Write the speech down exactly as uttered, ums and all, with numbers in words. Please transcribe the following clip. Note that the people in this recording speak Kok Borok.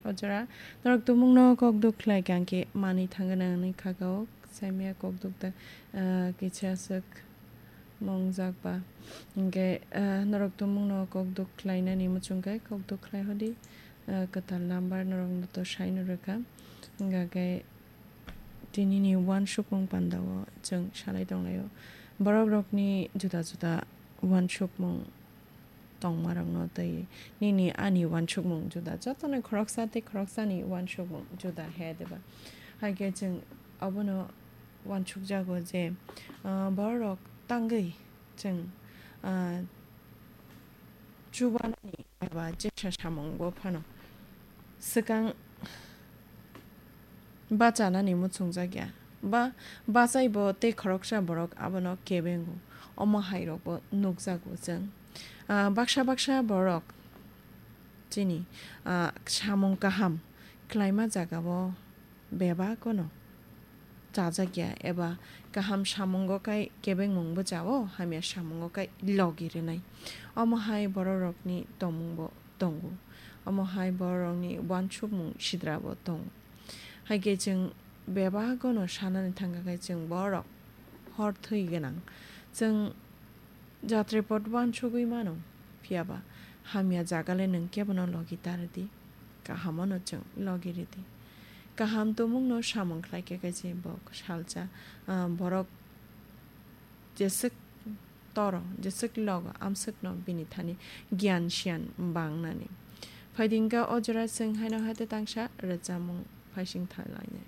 o jora. Norok tumungno kok duk khlai kha hwnkhe manwi thangna nangni kha o, saimaya kok duk da, ah, kisa swk mongjak ba. Hwnkhe, ah, norok tumungno kok duk khlainani muchung khe kok duk khlai hodi, ah, kwtal number norokno to saino rwkha. Hwnkhe tinini uansukmung pandao chwng salai tonglaio. Borokrokni juda juda uansukmung tongmarokno tei nini ani uansukmung juda, jotoni khoroksa tei khoroksani uansukmung juda he diba? Hai khe chwng abono uansukjago je, ah, bororok tangwi chwng, ah, chubanani eba jesa samungbo phano swkang bachanani muchungjak ya. Ba bachaibo tei khoroksa borok abono kebengo. Omo hairokbo nukjago chwng. Ah, baksa baksa borok chini, ah, samung kaham khlaima jagao bebak ono chajak ya, eba kaham samungo kai kebengmung bwchao, hamya samungo kai logi rwnai. Omo hai bororokni tongmungbo tongo. Omo hai bororokni uansukmung sidrabo tongo. Hai khe chwng bebak ono sanani thangkha khe chwng borok hor thwi gwnang. Chwng jatrepot uansugwi mano, phiyaba hamya jagale nwng kebono logi ta rwdi, kaham ono chwng logi rwdi. Kaham tumungno samung khlai khe kaisa bok salsa, ah, borok jeswk toro, jeswk logo, amswkno bini thani giyan siyan bangnani. Phaidi hwnkhe o jora chwng haino haite tangsa rwchapmung phaising thanglainai.